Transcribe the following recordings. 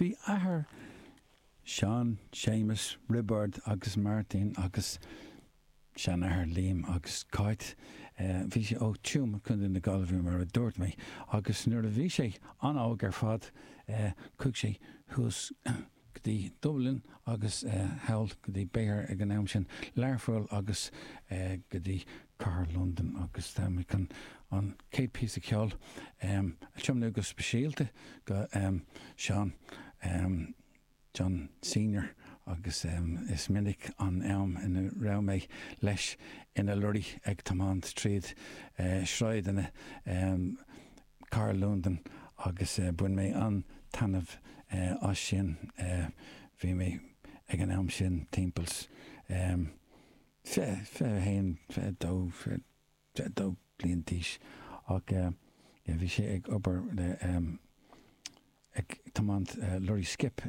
Bhí athair Seán, Séamus, Roibeárd agus Máirtín agus seanathair Liam agus Cáit, bhí sé ó Tuaim, Contae na Gaillimhe mar a dúirt mé, agus nuair a bhí sé an-óg ar fad chuaigh sé thuas go dtí Dublin agus thall go dtí b'fhéidir ag an am sin Learpholl agus go dtí cathair Londain agus tá mé chun an chéad píosa ceoil a tiomnú go speisialta go Seán John Senior agus is minic an am ina raibh mé leis ina lorry ag tiomáint tríd sráideanna cathair Londain agus bhain mé an-taitneamh as sin. Bhí mé ag an am sin timpeall 20, 21, 22, 22 bliain d'aois ach bhí sé ag obair le ag tiomáint lorry skip.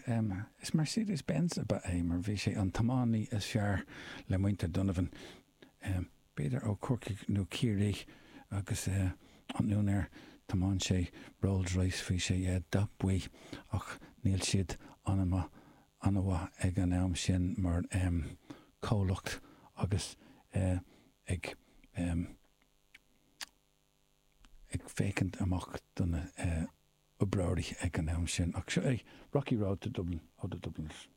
Is Mercedes Benz ab ea é mar bhí sé an tiománaí is fearr le muintir Donovan. B'fhéidir ó Chorcaigh nó Ciarraí agus an úinéir tiomáin sé Rolls Royce bhí sé dath buí ach níl siad an-mhaith an-mhaith ag an am sin mar comhlacht agus ag ag féachaint amach do na oibreoirí ag an am sin. Ach seo é Rocky Road to Dublin ó The Dubliners.